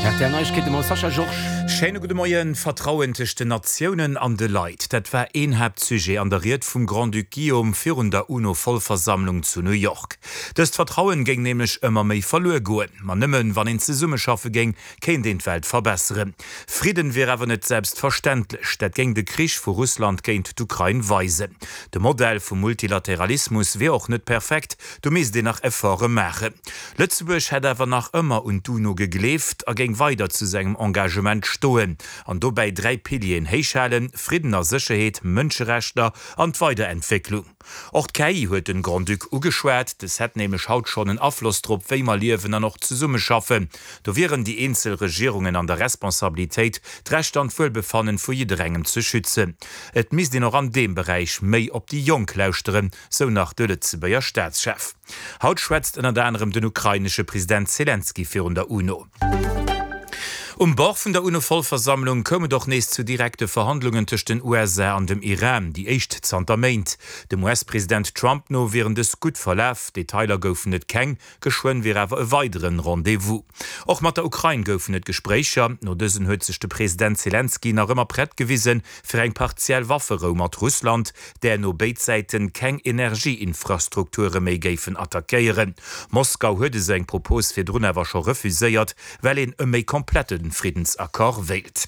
Rtl Neiegkeete mam Sascha Georges. Schéine gudde Moien. Vertrauen tëscht den Natiounen an de Leit, dat war een Haaptsujet an der Ried vum Grand-Duc Guillaume virun der UNO-Vollversammlung zu New York. Dëst Vertrauen géing nämlech ëmmer méi verluer goen. Ma nëmmen wann een zesummeschaffe géing, kéint een d'Welt verbesseren. Fridden wier awer net selbstverständlech. Dat géing de Krich vu Russland géint d'Ukrain weisen. De Modell vum Multilateralismus wier och net perfekt, do misst een nach Efforte maachen. Lëtzebuerg hätt awer nach ëmmer un d'UNO gegleeft a géing weider zu sengem Engagement stoen an dobäi 3 Pilieren héichhalen, Fridden a Sécherheet, Mënscherechter an d'Weiderentwécklung. Och d'KI huet den Grand-Duc ugeschwat. Des hätt nämlech haut schonn en Afloss drop, wéi mer liewen an och zesummeschaffen. Do wieren déi eenzel Regierungen an der Responsabilitéit, d'Rechter an d'Wuelbefannen vu jidderengem ze schützen. Et misst een och an deem Beräich méi op déi Jonk lauschteren, sou nach de Lëtzebuerger Staatschef. Haut schwätzt ënnert anerem den ukrainesche President Selenskyj virun der UNO. Um Bord vun der UNO-Vollversammlung koum et och nees zu direkte Verhandlungen tëscht den USA an dem Iran, déi éischt zanter Méint. Dem US-President Trump no wieren dës gutt verlaf, Detailer goufen et keng. Geschwënn wier awer e weideren Rendez-vous. Och mat der Ukrain goufen et Gespréicher. No dësen huet sech de President Selenskyj nach ëmmer prett gewisen, fir eng partiell Wafferou mat Russland, där no béid Säiten keng Energieinfrastrukture méi géifen attackéieren. Moskau huet esou eng Propos virdrun awer scho refuséiert, well een e méi komplette Friddensaccord wéilt.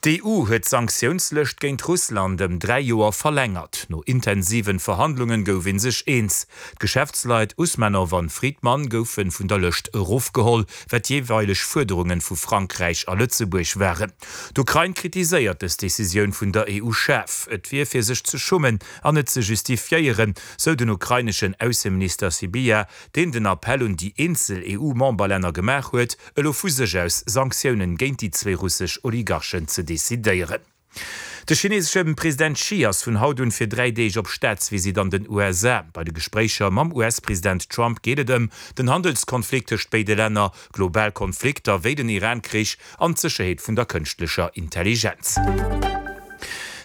D'EU huet d'Sanktiounslëscht géint Russland ëm 3 Joer verlängert. No intensiven Verhandlungen gouf ee sech eens. D'Geschäftsleit Usmanow an Fridman goufe vun der Lëscht erofgeholl, wat jeeweileg Fuerderungen vu Frankräich a Lëtzebuerg waren. D'Ukrain kritiséiert dës Decisioun vun der EU schaarf. Et wier fir sech ze schummen an net ze justifiéieren, sou den ukraineschen Ausseminister Sybiha, deen den Appell un déi eenzel EU-Memberlänner gemaach huet, elo vu sech aus Sanktiounen géint déi zwee russesch Oligarchen ze decidéieren. De chinesesche President Xi ass vun haut un fir 3 Deeg op Staatsvisitt an den USA. Bei de Gespréicher mam US-President Trump geet et ëm den Handelskonflikt tëscht béide Länner, global Konflikter wéi den Iran-Krich an d'Sécherheet vun der kënschtlecher Intelligenz.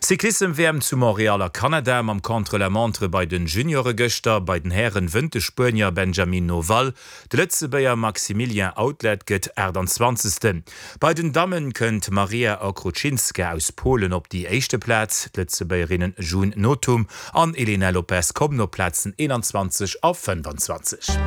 Cyclissem-WM zu Montréal a Kanada mam Contre-la-montre bei den Juniore gëschter. Bei den Hären wënnt de Spuenier Benjamin Noval. De Lëtzebuerger Maximilien Outlet gëtt 28. Bei den Dammen kënnt d'Maria Okrucinska aus Polen op déi éischte Plaz. D'Lëtzebuergerinnen June Nothum an Elena Lopes kommen op d'Plazen 21 a 25.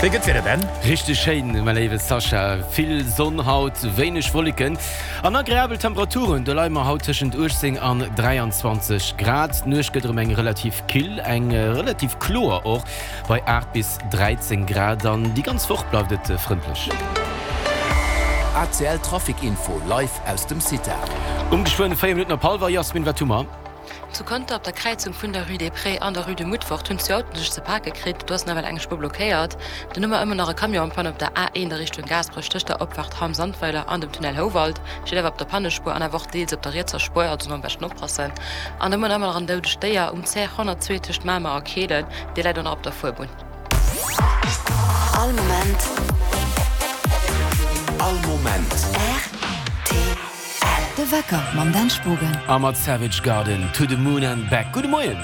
Wéi gëtt d'Wieder, Ben? Richteg schéin, mäi léiwe Sascha. Vill Sonn haut, wéineg Wolleken an agreabel Temperaturen. Do leie mer haut tëschent 18 an 23 Grad. D'Nuecht gëtt erëm eng relativ kill, eng relativ kloer och. Bei 8 bis 13 Grad an déi ganz Woch bleift et frëndlech. ACL Trafic Info live aus dem CITA. Um geschwënn 4 Minutten op hallwer. Jasmin, wat hu mer? Zu Conter op der Kräizung vun der Rue des Prés an der Rue de Mutfort hunn zwou Autoen sech ze pake kritt. Do ass nawell eng Spuer blockéiert. Dann hu mer ëmmer nach e Camion en panne op der A1 a Richtung Gaasperech tëscht der Opfaart Hamm-Sandweiler an dem Tunnel Houwald. Steet awer op der Pannespuer an awer och deels op der rietser Spuer, also do am beschten oppassen. An da hu mer ëmmer nach en doudegt Déier um CR 102 tëscht Mamer a Kehlen. Dee läit och nach op der Fuerbunn. All Moment. All Moment. Rtl. De Wecker mam Dan Spogen. A mat Savage Garden, To the Moon and Back. Gudde Moien!